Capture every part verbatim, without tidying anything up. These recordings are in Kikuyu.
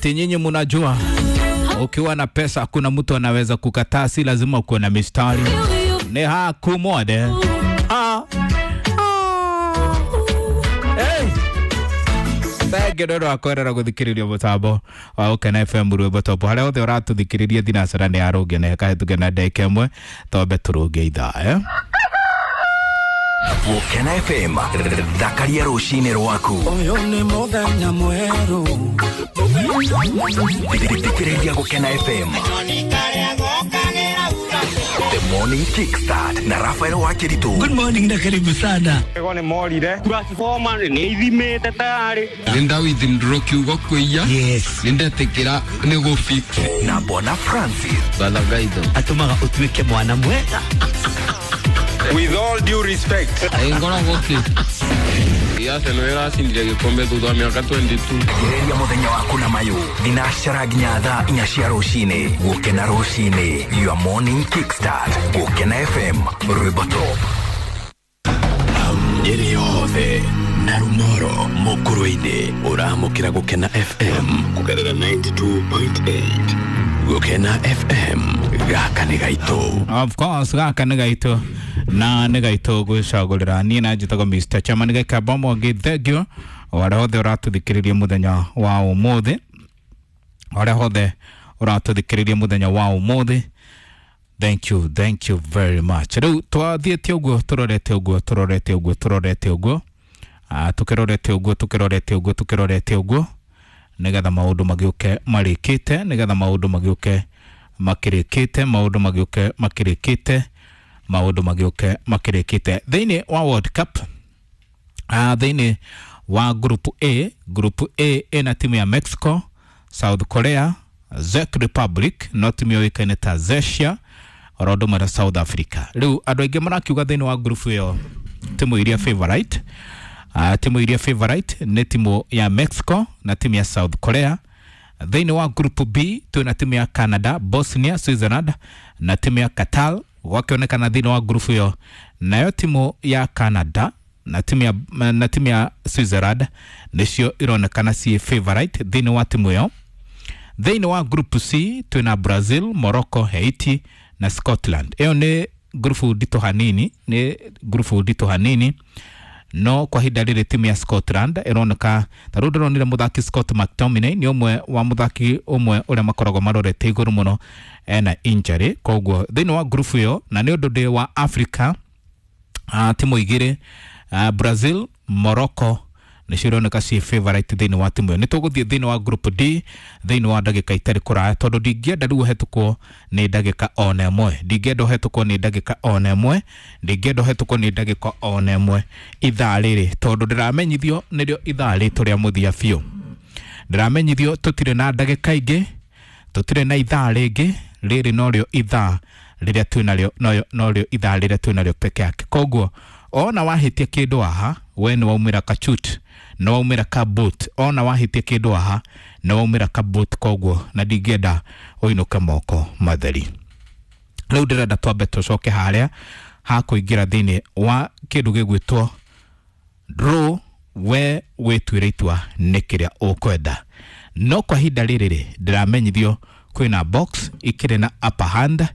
Ati nyinyi munajua ukiwa na pesa hakuna mtu anaweza kukataa, si lazima ukuwe na mistari. Ni hakumode. Ah. Ah. Hey. Thengi nĩ ũndũ wa kwerera gũthikĩrĩria mũtambo wa Gũkena F M rwĩmbo top harĩa hothe ũratũthikĩrĩria thinacara nĩ yarũnge na ĩkahĩtũke na ndagĩka ĩmwe twambe tũrũnge ithaa eh? Gũkena F M thakaria rũcinĩ rwaku. Ũyũ nĩ mũthenya mwerũ. Thikĩrĩria Gũkena F M The Morning Kickstart na Rafael Wakiritu. Good morning na karibu sana. Ego nĩ morire. Transformer nĩ ithimĩte tayari. Nĩ withdraw kiugo kwĩya. Yes. Nĩ ndetĩkĩra nĩ gũ fix. Na Bona Francis. Balagaitho. Atũmaga ũtuĩke mwana mwega. With all due respect. Ngoragwo kĩ? Arsenal ĩracindire gĩkombe thutha wa mĩaka twenty-two. Thikĩrĩria mũthenya waku na mayũ thinacara nginya thaa inya cia rũcinĩ. Gũkena rũcinĩ, your morning kickstart. Gũkena F M rwĩmbo top. Nyeri yothe na Rumoro Mukurwe-inĩ ũramũkĩra Gũkena F M kũgerera ninety-two point eight. Gũkena F M gaka nĩ gaitũ. Of course gaka nĩ gaitũ na nĩ gaitũ gwĩcagũrĩra. Niĩ na njĩtagwo Mister Chairman Gĩkamba Mwangi, thank you arĩa hothe ũratũthikĩrĩria mũthenya wa ũmũthĩ, arĩa hothe ũratũthikĩrĩria mũthenya wa ũmũthĩ, thank you, thank you very much. Rĩu twathiĩte ũguo tũrorete ũguo tũrorete ũguo tũrorete ũguo ah tũkĩrorete ũguo tũkĩrorete ũguo tũkĩrorete ũguo nĩgetha maũndũ magĩũke marĩkĩte, nĩgetha maũndũ magĩũke makĩrĩkĩte, maũndũ magĩũke makĩrĩkĩte, maũndũ magĩũke makĩrĩkĩte. Thĩinĩ wa World Cup, ah thĩinĩ wa Group A, Group A ĩna timu ya Mexico, South Korea, Czech Republic, no timu yũĩkaine ta Czechia, oro ũndũ ũmwe na South Africa. Rĩu andũ aingĩ marakiuga thĩinĩ wa group ĩyo timu iria favorite, ah timu iria favorite nĩ timu ya Mexico na timu ya South Korea. Thĩinĩ wa Group B twĩna timu ya Canada, Bosnia, Switzerland na timu ya Qatar. Wakionekana thĩinĩ wa group ĩyo nayo timu ya Canada na timu ya, na timu ya Switzerland nĩcio ironekana ciĩ favorite thĩinĩ wa timu ĩyo. Thĩinĩ wa Group C twĩna Brazil, Morocco, Haiti na Scotland. Ĩyo nĩ group nditũ hanini, nĩ group nditũ hanini, no kwa ihinda rĩrĩ timu ya Scotland ĩroneka ta rĩu ndĩronire mũthaki Scott McTominay nĩ ũmwe wa mũthaki ũmwe ũrĩa makoragwo marorete igũrũ mũno ena injury, koguo thĩinĩ wa group ĩyo na nĩ ũndũ ndĩ wa Africa, uh, timu igĩrĩ uh, Brazil, Morocco nĩcio ironeka ciĩ favorite thĩinĩ wa timu ĩyo. Nĩ tũgũthiĩ thĩinĩ wa Group D thĩinĩ wa ndagĩka itarĩ kũraya tondũ ndingĩenda rĩu ũhetũkwo nĩ ndagĩka ona ĩmwe, ndingĩenda ũhetũkwo nĩ ndagĩka ona ĩmwe, ndingĩenda ũhetũkwo nĩ ndagĩka ona ĩmwe ithaa rĩrĩ tondũ ndĩramenyithio nĩrĩo ithaa rĩtũ rĩa mũthia biũ. Ndĩramenyithio tũtirĩ na ndagĩka ingĩ, tũtirĩ na ithaa rĩngĩ, rĩrĩ norĩo ithaa rĩrĩa twĩnarĩo, norĩo ithaa rĩrĩa twĩnarĩo peke yake. Koguo ona wahĩtia kĩndũ haha we nĩ waumĩra kachut, nĩ waumĩra ka boot, ona wahĩtia kĩndũ haha nĩ waumĩra ka boot, koguo na ndingĩenda ũinũke moko matheri. Rĩu ndĩrenda twambe tũcoke harĩa ha kũingĩra thĩinĩ wa kĩndũ gĩgwĩtwo draw, we wĩtuĩre itua nĩ kĩrĩa ũkwenda. No kwa ihinda rĩrĩ rĩ ndĩramenyithio kwĩna box ikĩrĩ na upper hand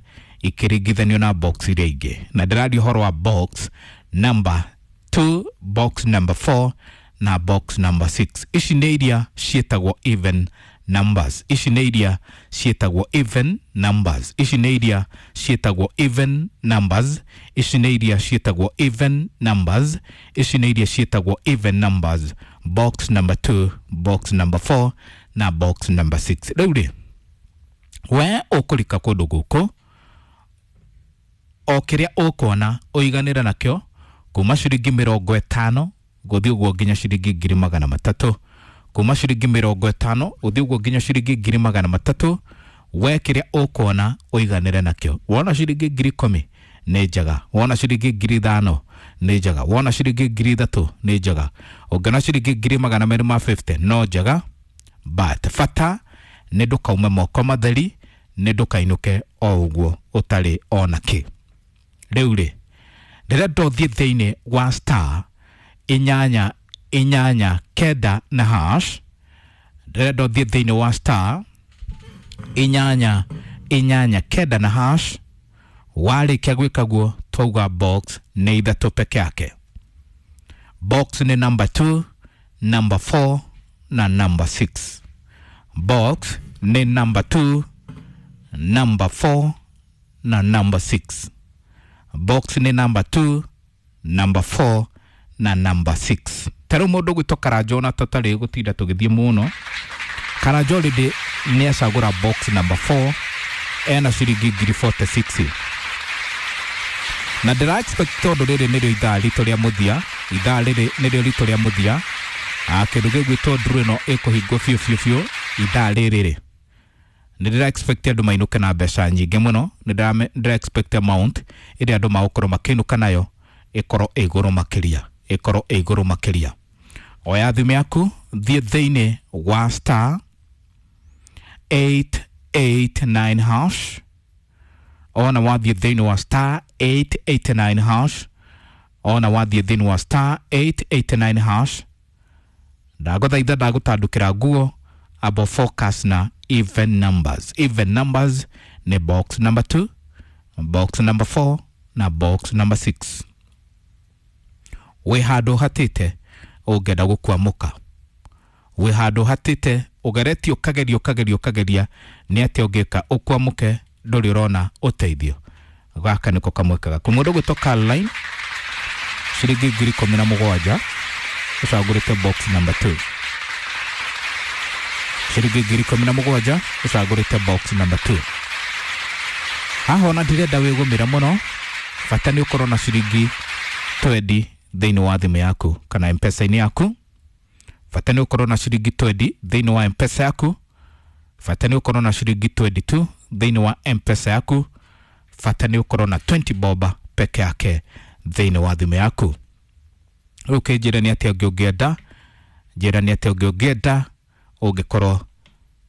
ikĩringithanio na box iria ingĩ, na ndĩraria ũhoro wa box number two, box number four na box number six. Ici nĩ iria ciĩtagwo even numbers, ici nĩ iria ciĩtagwo even numbers, ici nĩ iria ciĩtagwo even numbers, ici nĩ iria ciĩtagwo even numbers, ici nĩ iria ciĩtagwo even numbers, box number two, box number four na box number six. Rĩu rĩ we ũkũrika kũndũ gũkũ o kĩrĩa ũkuona ũiganĩre nakĩo kuma ciringi mĩrongo ĩtano gũthiĩ ũguo nginya ciringi ngiri magana matatũ, kuma ciringi mĩrongo ĩtano gũthiĩ ũguo nginya ciringi ngiri magana matatũ. We kĩrĩa ũkuona ũiganĩre nakĩo. Wona ciringi ngiri ikũmi nĩ njega, wona ciringi ngiri ithano nĩ njega, wona ciringi ngiri ithatũ nĩ njega, ũngĩona ciringi ngiri magana merĩ ma fifty no njega, but bata nĩ ndũkaume moko matheri, nĩ ndũkainũke o ũguo ũtarĩ ona kĩ. Rĩu rĩ ndĩrenda ũthiĩ thĩinĩ wa star inyanya inyanya kenda na hash, Ndĩrenda ũthiĩ thĩinĩ wa star inyanya inyanya kenda na hash. Warĩkia gwĩka guo, twauga box nĩ ithatũ peke yake. Box nĩ number two, number four na number six. Box nĩ number two, number four na number six. Box nĩ number two, number four na number six. Ta rĩu mũndũ gwĩtwo Karanjo, na tũtarĩ gũtinda tũgĩthiĩ mũno, Karanjo already nĩ acagũra box number four, ena ciringi ngiri mĩrongo ĩna na ithathatũ, na ndĩra expect tondũ rĩrĩ nĩrĩo ithaa ritũ rĩa mũthia, ithaa rĩrĩ nĩrĩo ritũ rĩa mũthia. Ah, kĩndũ gĩgwĩtwo draw ĩno ĩkũhingwo biũ biũ biũ ithaa rĩrĩ rĩ, nĩ ndĩra expect andũ mainũke na mbeca nyingĩ mũno. Nĩ ndĩra expect amount ĩrĩa andũ magũkorwo makĩinũka nayo ĩkorwo ĩ igũrũ makĩria, ĩkorwo ĩ igũrũ makĩria. Oya thimũ yaku, thiĩ thĩinĩ wa star eight eight nine hash. Ona wathiĩ thĩinĩ wa star eight eight nine hash, ona wathiĩ thĩinĩ wa star eight eight nine hash, ndagũthaitha, ndagũtandũkĩra nguo, abo focus na even numbers. Even numbers nĩ box number two, box number four na box number six. Wĩ handũ hatĩte ũngĩenda gũkwamũka, wĩ handũ hatĩte ũgeretie, ũkageria, ũkageria, ũkageria nĩ atĩa ũngĩka ũkwamũke, ndũrĩ ũrona ũteithio, gaka nĩko kamweke gaku. Mũndũ gwĩtwo Caroline, ciringi ngiri ikũmi na mũgwanja, ũcagũrĩte box number two. Ciringi ngiri ikũmi na mũgwanja, ũcagũrĩte box number two. Haha ona ndirenda wĩgũmĩre mũno, bata nĩ ũkorwo na ciringi mĩrongo ĩrĩ thĩinĩ wa thimũ yaku kana mpesa-inĩ yaku. Bata nĩ ũkorwo na ciringi mĩrongo ĩrĩ thĩinĩ wa Mpesa yaku. Bata nĩ ũkorwo na ciringi mĩrongo ĩrĩ na igĩrĩ thĩinĩ wa Mpesa yaku. Bata nĩ ũkorwo na mĩrongo ĩrĩ boba peke yake thĩinĩ wa thimũ yaku. Rĩu kĩnjĩre nĩ atĩa ũngĩ ũngĩenda, njĩra nĩ atĩa ũngĩ ũngĩenda ũngĩkorwo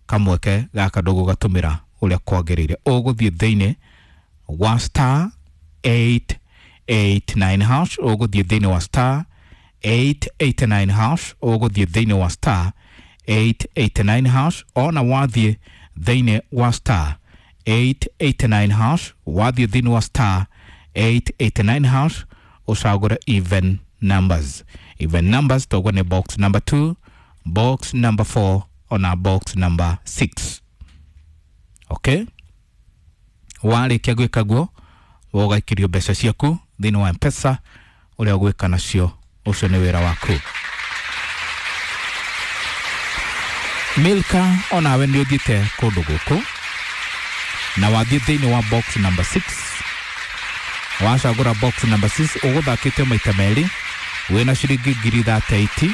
kamweke gaka ndũgũgatũmĩra ũrĩa kwagĩrĩire. Ũgũthiĩ thĩinĩ wa star eight eight nine hash, ũgũthiĩ thĩinĩ wa star eight eight nine hash, ũgũthiĩ thĩinĩ wa star eight eight nine hash. Ona wathiĩ thĩinĩ wa star eight eight nine hash, wathiĩ thĩinĩ wa star eight eight nine hash, ũcagũre even numbers. Even numbers toguo nĩ box number two, box number four ona box number six. Okay, warĩkia gwĩka guo, ũgaikĩrio mbeca ciaku thĩinĩ wa Mpesa. Ũrĩa ũgwĩka nacio, ũcio nĩ wĩra waku. Milka, onawe nĩ ũthiĩte kũndũ gũkũ na wathiĩ thĩinĩ wa box number six, wacagũra box number six, ũgũthakĩte maita merĩ, wĩna ciringi ngiri mĩrongo ĩtatũ na igĩrĩ,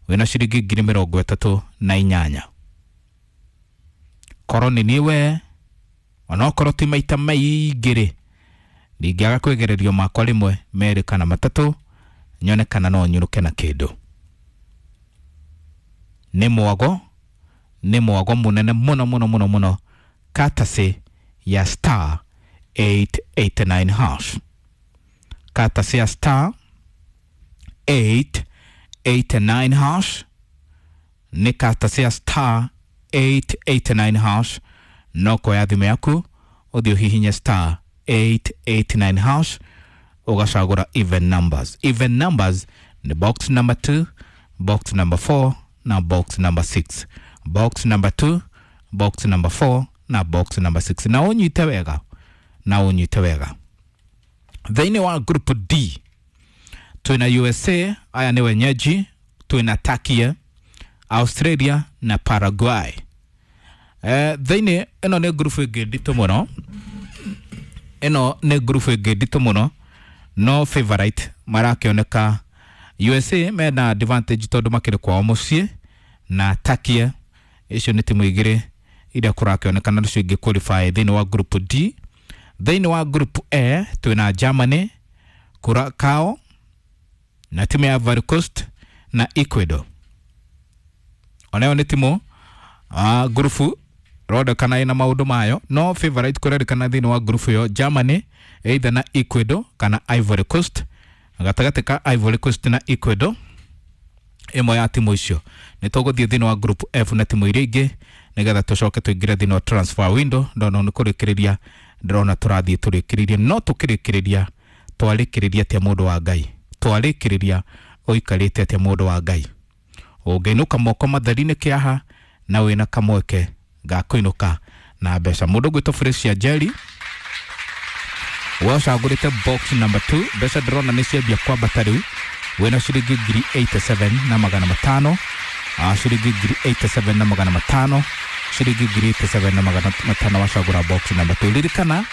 wĩna ciringi ngiri mĩrongo ĩtatũ na inyanya. Korwo nĩ niĩ we, onokorwo ti maita maingĩ rĩ, ndingĩaga kwĩgererio makwa rĩmwe, merĩ kana matatũ, nyone kana no nyũrũke na kĩndũ. Nĩ mwago, nĩ mwago mũnene mũno mũno mũno mũno, katasi ya star eight eight nine hash, katasi ya star eight eight nine hash, nĩ katasi ya star eight eight nine hash. No kuoya thimũ yaku, ũthiĩ ũhihinye star eight eight nine hash, ũgacagũra even numbers. Even numbers ni box number two, box number four na box number six. Box number two, box number four na box number six. Na ũnyite wega, na ũnyite wega, thĩinĩ wa group D twĩna U S A, aya nĩ wenyeji, twĩna Turkey, Australia na Paraguay. Eh, thĩinĩ ĩno nĩ group ĩngĩ nditũ mũno, ĩno nĩ group ĩngĩ nditũ mũno, no favorite marakĩoneka U S A, mena advantage tondũ makĩrĩ kwao mũciĩ, na Turkey. Icio nĩ timu igĩrĩ iria kũrakĩonekana nĩcio ingĩ qualify thĩinĩ wa group D. Thĩinĩ wa group A twĩna Germany, Curacao na timu ya Ivory Coast na Ecuador. Onayo nĩ timu uh, ngurubu rondekana ĩna maũndũ mayo, no favorite kũrerĩkana thĩinĩ wa ngurubu ĩyo Germany either na Ecuador kana Ivory Coast. Gatagatĩ ka Ivory Coast na Ecuador, Ĩmwe ya timu icio nĩ tũgũthiĩ thĩinĩ wa group F na timu iria ingĩ nĩgetha tũcoke tũingĩre thĩinĩ wa transfer window. Ndona nĩ kũrĩkĩrĩria, ndĩrona tũrathiĩ tũrĩkĩrĩrie, no tũkĩrĩkĩrĩria twarĩkĩrĩria atĩa mũndũ wa Ngai, twarĩkĩrĩria ũikarĩte atĩa mũndũ wa Ngai. Ũngĩinũka moko matheri nĩ kĩaha na wĩna kamweke ga kũinũka na mbeca. Mũndũ ũgwĩtwo Fresia Jerry, we ũcagũrĩte box number two, mbeca ndĩrona nĩ ciambia kwambata rĩu, wĩna ciringi ngiri eighty-seven na magana matano, ah, ciringi ngiri eighty-seven na magana matano, ciringi ngiri eighty-seven na magana matano wacagũra box number two. Ririkana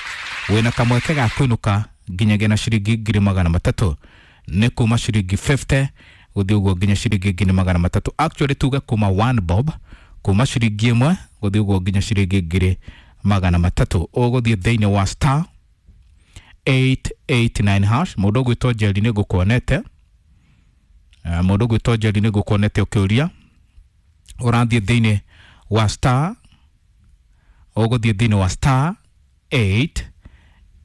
wĩna kamweke ga kũinũka nginyagia na ciringi ngiri magana matatũ, nĩ kuma ciringi fifty gũthiĩ ũguo nginya ciringi ngiri magana matatũ. Actually tuge kuma one bob, kuma ciringi ĩmwe gũthiĩ ũguo nginya ciringi ngiri magana matatũ. Ũgũthiĩ thĩinĩ wa star eight eight nine hash. Mũndũ ũgwĩtwo Njeri nĩ ngũkuonete, mũndũ ũgwĩtwo Njeri nĩ ngũkuonete ũkĩũria, ũrathiĩ thĩinĩ wa star, ũgũthiĩ thĩinĩ wa star eight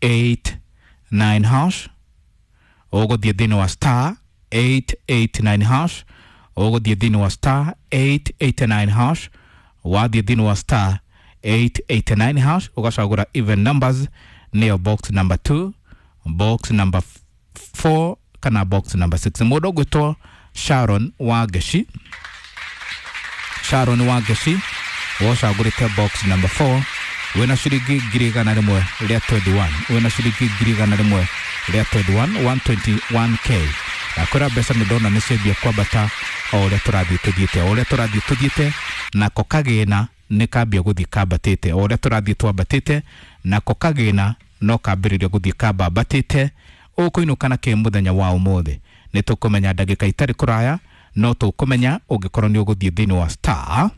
eight nine hash, ũgũthiĩ thĩinĩ wa star eight eight nine hash, ũgũthiĩ thĩinĩ wa star eight eight nine hash, wathiĩ thĩinĩ wa star eight eight nine hash ũgacagũra even numbers, nĩyo box number two, box number four kana box number six. Mũndũ ũgwĩtwo Sharon Wangeci, Sharon Wangeci wocagũrĩte box number four, wĩna ciringi ngiri igana rĩmwe rĩa twenty-one, wĩna ciringi ngiri igana rĩmwe rĩa twenty-one, one twenty-one K. Nakwĩra mbeca nĩ ndona nĩ ciambia kwambata o ũrĩa tũrathiĩ tũthiĩte, o ũrĩa tũrathiĩ tũthiĩte, nako kagĩna nĩ kambia gũthiĩ kambatĩte, o ũrĩa tũrathiĩ twambatĩte, nako kagĩna no kambĩrĩria gũthiĩ kambambatĩte. Ũkũinũka na kĩ mũthenya wa ũmũthĩ nĩ tũkũmenya ndagĩka itarĩ kũraya, no tũkũmenya ũngĩkorwo nĩ ũgũthiĩ thĩinĩ wa star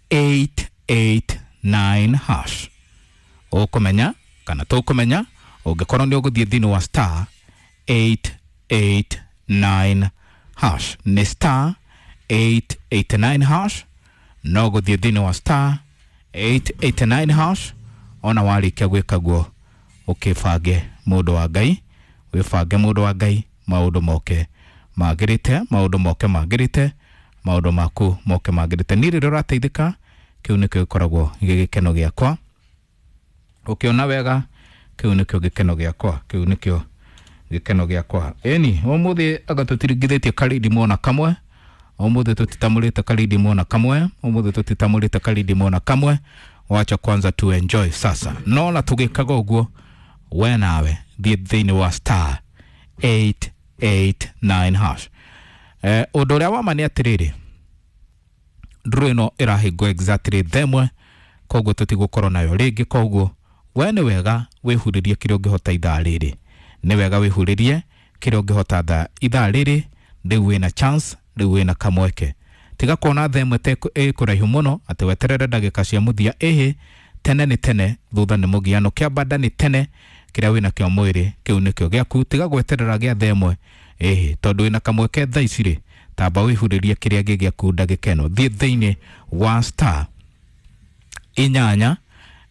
eight eight nine hash. Ũkũmenya kana tũkũmenya ũngĩkorwo nĩ ũgũthiĩ thĩinĩ wa star eight eight nine hash. Nĩ star eight eight nine hash, no gũthiĩ thĩinĩ wa star eight eight nine hash. Ona warĩkia gwĩka guo ũkĩbange mũndũ wa Ngai, wĩbange mũndũ wa Ngai, maũndũ moke magĩrĩte, maũndũ moke magĩrĩte, maũndũ maku moke magĩrĩte. Niĩ rĩrĩa ũrateithĩka kĩu nĩkĩo gĩkoragwo gĩ gĩkeno gĩakwa. Ũkĩona wega kĩu nĩkĩo gĩkeno gĩakwa, kĩu nĩkĩo gĩkeno gĩakwa. Ĩni ũmũthĩ anga tũtiringithĩtie karindi mona kamwe, ũmũthĩ tũtitamũrĩte karindi mona kamwe, ũmũthĩ tũtitamũrĩte karindi mona kamwe. Wacha kwanza tu enjoy sasa. No na tũgĩkaga ũguo, we nawe thiĩ thĩinĩ wa star eight eight nine hash. Eh, ũndũ ũrĩa wa ma nĩ atĩrĩrĩ, ndũrũ ĩno ĩrahingwo exactly themwe, koguo tũtigũkorwo nayo rĩngĩ. Koguo we nĩ wega wĩhurĩrie kĩrĩa ũngĩhota ithaa rĩrĩ, nĩ wega wĩhurĩrie kĩrĩa ũngĩhota thaa ithaa rĩrĩ. Rĩu wĩna chance, rĩu wĩna kamweke. Tiga kuona themwe te ĩ kũraihu mũno atĩ weterere ndagĩka cia mũthia. Ĩhĩ, tene nĩ tene, thutha nĩ mũgiano, kĩambanda nĩ tene, kĩrĩa wĩna kĩo mwĩrĩ kĩu nĩkĩo gĩaku. Tiga gweterera gĩa themwe, ĩhĩ, tondũ wĩna kamweke thaa ici rĩ, tamba wĩhurĩrie kĩrĩa gĩ gĩaku ndagĩka ĩno. Thiĩ thĩinĩ wa star inyanya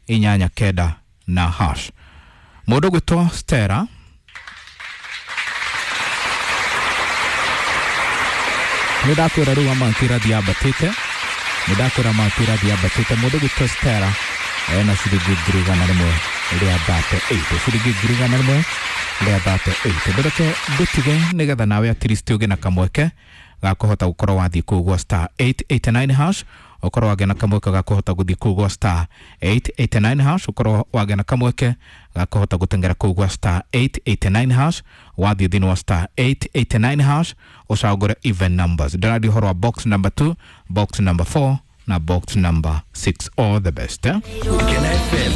inyanya kenda na hash. Mũndũ ũgwĩtwo Stella nĩ ndakwĩra rĩu amount ĩrathiĩ yambatĩte, nĩ ndakwĩra amount ĩrathiĩ yambatĩte. Mũndũ ũgwĩtwo Stella ena ciringi ngiri igana rĩmwe rĩa thirty eight, ciringi ngiri igana rĩmwe rĩa thirty eight. Ndũreke ngũtige nĩgetha nawe at least ũgĩe na kamweke ga kũhota gũkorwo wathiĩ kũu gwa star eight eight nine hash, ũkorwo wagĩa na kamweke ga kũhota gũthiĩ kũu gwa star eight eight nine hash, ũkorwo wagĩa na kamweke ga kũhota gũteng'era kũu gwa star eight eight nine hash. Wathiĩ thĩinĩ wa star eight eight nine hash ũcagũre even numbers. Ndĩraria ũhoro wa box number two, box number four na box number six. All the best, eh? Gukena F M.